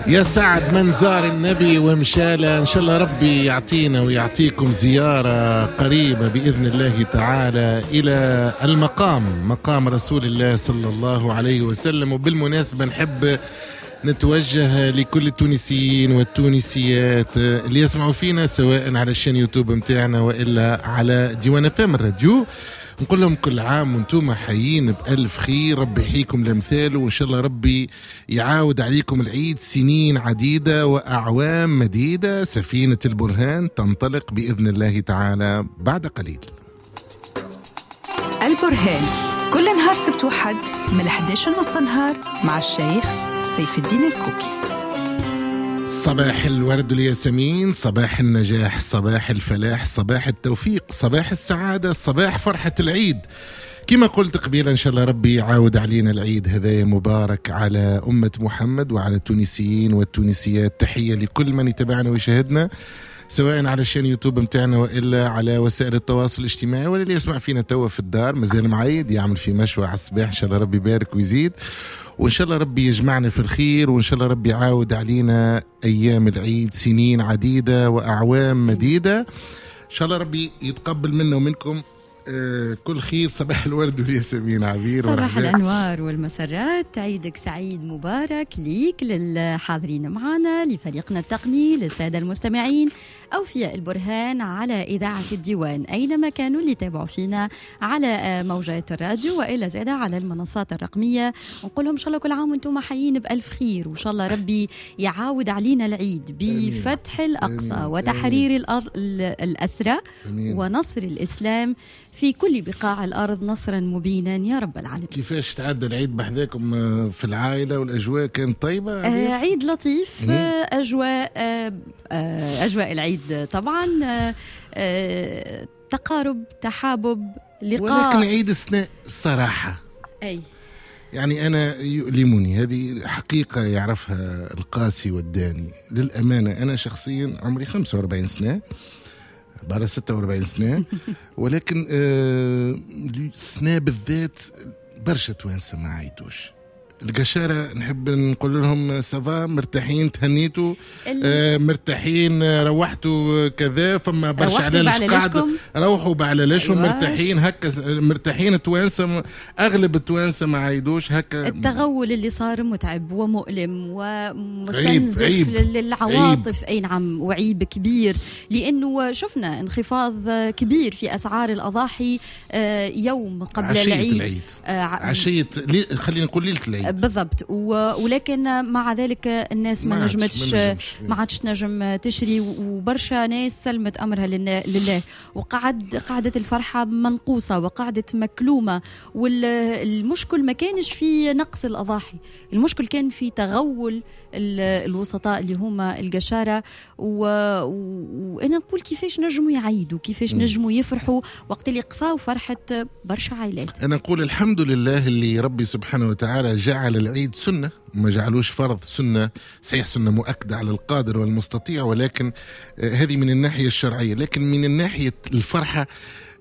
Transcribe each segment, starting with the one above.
يا سعد من زار النبي ومشاله، إن شاء الله ربي يعطينا ويعطيكم زيارة قريبة بإذن الله تعالى إلى المقام، مقام رسول الله صلى الله عليه وسلم. وبالمناسبة نحب نتوجه لكل التونسيين والتونسيات اللي يسمعوا فينا سواء على ال chaîne YouTube متاعنا وإلا على ديوان FM الراديو، نقول لهم كل عام وانتم حيين بألف خير، ربي يحييكم لأمثاله، وإن شاء الله ربي يعاود عليكم العيد سنين عديدة وأعوام مديدة. سفينة البرهان تنطلق بإذن الله تعالى بعد قليل. البرهان كل نهار سبت وحد من 11:30 نهار مع الشيخ سيف الدين الكوكي. صباح الورد والياسمين، صباح النجاح، صباح الفلاح، صباح التوفيق، صباح السعادة، صباح فرحة العيد. كما قلت قبيلا إن شاء الله ربي يعاود علينا العيد هذا مبارك على أمة محمد وعلى التونسيين والتونسيات. تحية لكل من يتابعنا ويشاهدنا سواء على ال chaîne YouTube متاعنا وإلا على وسائل التواصل الاجتماعي، ولا اللي يسمع فينا توا في الدار مازال معيد يعمل في مشوى على الصباح. إن شاء الله ربي يبارك ويزيد، وإن شاء الله ربي يجمعنا في الخير، وإن شاء الله ربي يعاود علينا أيام العيد سنين عديدة وأعوام مديدة. إن شاء الله ربي يتقبل منا ومنكم كل خير. صباح الورد والياسمين عبير، صباح الأنوار والمسرات. عيدك سعيد مبارك ليك، للحاضرين معنا، لفريقنا التقني، للسادة المستمعين أوفياء البرهان على إذاعة الديوان أينما كانوا اللي تابعوا فينا على موجات الراديو وإلا زادة على المنصات الرقمية. ونقول لهم إن شاء الله كل عام وأنتم حيين بألف خير، وإن شاء الله ربي يعاود علينا العيد بفتح الأقصى وتحرير الأسرى ونصر الإسلام في كل بقاع الأرض نصرا مبينا يا رب العالمين. كيفاش تعدى العيد بحذاكم في العائلة والأجواء كانت طيبة؟ عيد لطيف، أجواء أجواء العيد طبعا، تقارب، تحابب، لقاء. ولكن عيد السنة الصراحة أي يعني أنا يؤلمني، هذه حقيقة يعرفها القاسي والداني. للأمانة أنا شخصيا عمري 45 سنة، بعد 46 سنة، ولكن السنة بالذات برشا توانسة ما عيدوش. القشارة نحب نقول لهم ça va، مرتاحين، تهنيتوا، مرتاحين، روحتوا كذا، فما برشا علالش قاعد روحوا بعلالشهم. أيوة. مرتاحين هكا، مرتاحين التوانسة، أغلب التوانسة ما عيدوش هكا. التغول اللي صار متعب ومؤلم ومستنزف للعواطف، أي نعم، وعيب كبير، لأنه شفنا انخفاض كبير في أسعار الأضاحي يوم قبل عشية العيد، عشية خلينا نقول ليلة العيد بالضبط. ولكن مع ذلك الناس ما نجمتش، ما عادش تنجم تشري، وبرشا ناس سلمت امرها لله، وقعدت الفرحة منقوصه وقعدت مكلومه. والمشكل ما كانش في نقص الاضاحي، المشكل كان في تغول الوسطاء اللي هما القشاره. وانا نقول كيفاش نجموا يعيدوا، كيفاش نجموا يفرحوا وقت اللي قصاو فرحه برشا عائلات. انا نقول الحمد لله اللي ربي سبحانه وتعالى جعل العيد سنة، ما جعلوش فرض، سنة صحيح، سنة مؤكدة على القادر والمستطيع، ولكن هذه من الناحية الشرعية. لكن من الناحية الفرحة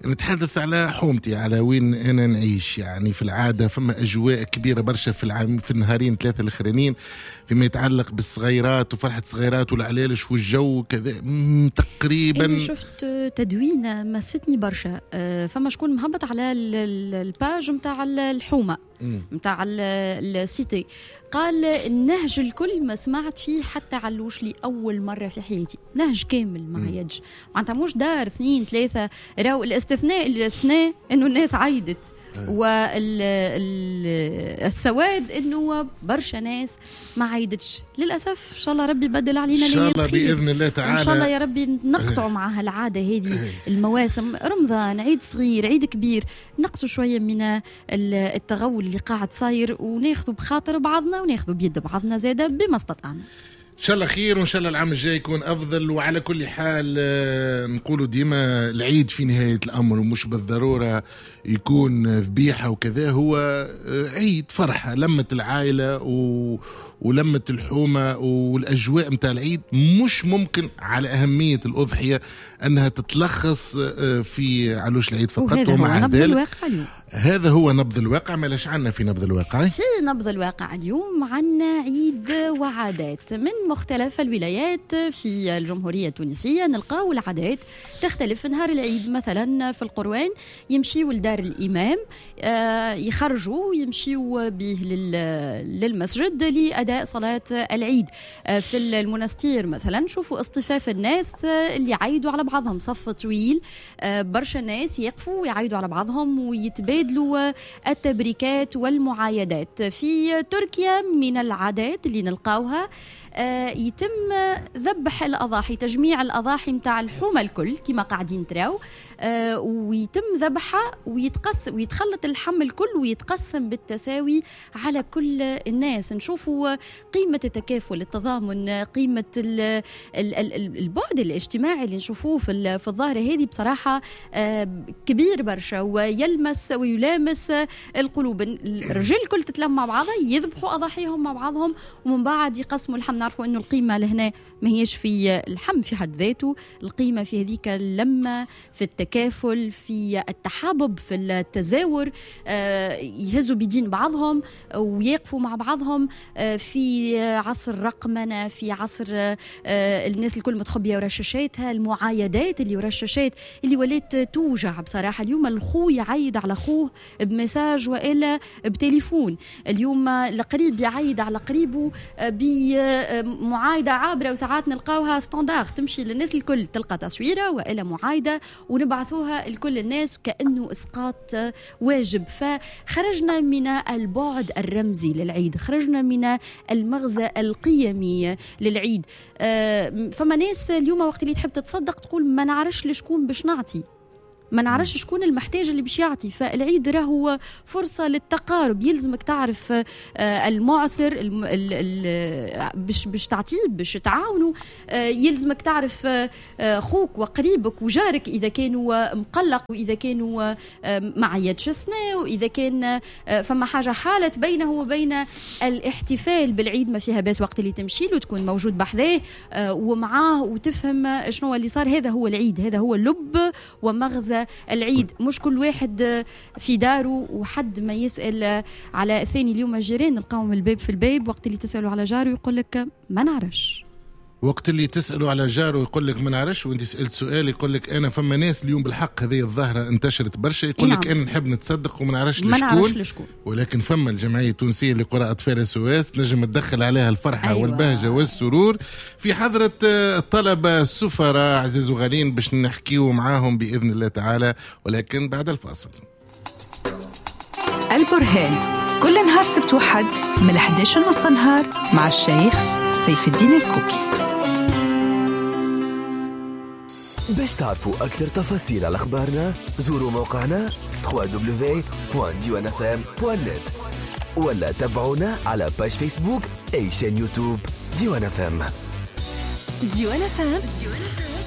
نتحدث على حومتي، على وين أنا نعيش. يعني في العادة فما أجواء كبيرة برشا في العام، في النهارين ثلاثة الأخرانيين فيما يتعلق بالصغيرات وفرحة الصغيرات والعلالش والجو كذا تقريبا. أنا شفت تدوينة مستني برشا، فما شكون مهبط على ال page متاع الحومة متاع ال cité، قال النهج الكل ما سمعت فيه حتى علوش لأول مرة في حياتي، نهج كامل ما عيدش، معناتها مش دار 2 3، راهو الاستثناء السنة انه الناس عيدت، والسواد انه برشا ناس ما عيدتش للاسف. ان شاء الله ربي يبدل علينا ان شاء الله باذن الله تعالى، ان شاء الله يا ربي نقطعوا مع هالعاده هذه المواسم، رمضان، عيد صغير، عيد كبير، نقصوا شوية من التغول اللي قاعد صاير، وناخذوا بخاطر بعضنا وناخذوا بيد بعضنا زاده بما استطعنا. ان شاء الله خير، وان شاء الله العام الجاي يكون افضل. وعلى كل حال نقولوا ديما العيد في نهاية الامر ومش بالضرورة يكون ذبيحة وكذا، هو عيد فرحه، لمه العائلة ولمه الحومه والاجواء متاع العيد. مش ممكن على اهمية الاضحية انها تتلخص في علوش العيد فقط. ومع ذلك هذا هو نبض الواقع. ما لاش عنا في نبض الواقع؟ في نبض الواقع اليوم عنا عيد وعادات من مختلف الولايات في الجمهورية التونسية. نلقاو العادات تختلف. نهار العيد مثلا في القروان يمشيوا لدار الإمام، يخرجوا يمشيوا به للمسجد لأداء صلاة العيد. في المنستير مثلا شوفوا اصطفاف الناس اللي يعيدوا على بعضهم، صف طويل، برشا ناس يقفوا ويعيدوا على بعضهم ويتبادلوا التبريكات والمعايدات. في تركيا من العادات اللي نلقاوها يتم ذبح الأضاحي، تجميع الأضاحي متاع الحومة الكل كما قاعدين تراو، ويتم ذبحها ويتخلط اللحم الكل ويتقسم بالتساوي على كل الناس. نشوفوا قيمة التكافل، التضامن، قيمة البعد الاجتماعي اللي نشوفوه في الظاهرة هذه بصراحة كبير برشا، ويلمس ويلامس القلوب. الرجال الكل تتلم مع بعضها، يذبحوا أضاحيهم مع بعضهم ومن بعد يقسموا اللحم. نعرفوا أنه القيمة لهنا ما هيش في اللحم في حد ذاته، القيمة في هذيك اللمة، في التكافل، في التحابب، في التزاور، يهزوا بدين بعضهم ويقفوا مع بعضهم. في عصر الرقمنة، في عصر الناس الكل متخبية ورا شاشاتها، المعايدات اللي ورا الشاشات اللي ولات توجع بصراحة. اليوم الخو يعيد على خوه ب message وإلا بتليفون، اليوم القريب يعيد على قريبه بمعايدة عابرة، وساعات نلقاوها standard تمشي للناس الكل، تلقى تصويرة وإلا معايدة ونبعثوها لكل الناس كأنه إسقاط واجب. فخرجنا من البعد الرمزي للعيد، خرجنا من المغزى القيمي للعيد. فما ناس اليوم وقت اللي تحب تتصدق تقول ما نعرفش لشكون باش نعطي، ما نعرفش شكون المحتاج اللي باش يعطي. فالعيد راهو فرصة للتقارب، يلزمك تعرف المعسر باش تعطيه، باش تعاونه، يلزمك تعرف خوك وقريبك وجارك إذا كانوا مقلق، وإذا كانوا ما عيدش السنة، وإذا كان فما حاجة حالت بينه وبين الاحتفال بالعيد ما فيها باس وقت اللي تمشي له تكون موجود بحذاه ومعاه وتفهم شنو اللي صار. هذا هو العيد، هذا هو اللب ومغزى العيد. مش كل واحد في داره وحد ما يسأل على الثاني. اليوم الجيران نلقاهم الباب في الباب، وقت اللي تسألوا على جاره يقول لك ما نعرفش، وقت اللي تسألوا على جاره يقول لك ما نعرفش، وانت سألت سؤال يقول لك انا. فما ناس اليوم بالحق هذه الظاهرة انتشرت برشا، يقول لك انا نحب نتصدق وما نعرفش لشكون، ولكن فما الجمعية التونسية لقرى أطفال SOS تنجم تدخل عليها الفرحة والبهجة والسرور في حضرة الطلبة السفراء عزيز وغالين باش نحكيو معاهم بإذن الله تعالى، ولكن بعد الفاصل. البرهان كل نهار سبت وحد من 11:30 نهار مع الشيخ سيف الدين الكوكي. باش تعرفوا أكثر تفاصيل على أخبارنا زوروا موقعنا www.diwanfm.net ولا تابعونا على page Facebook أي chaîne YouTube ديوان FM. ديوان FM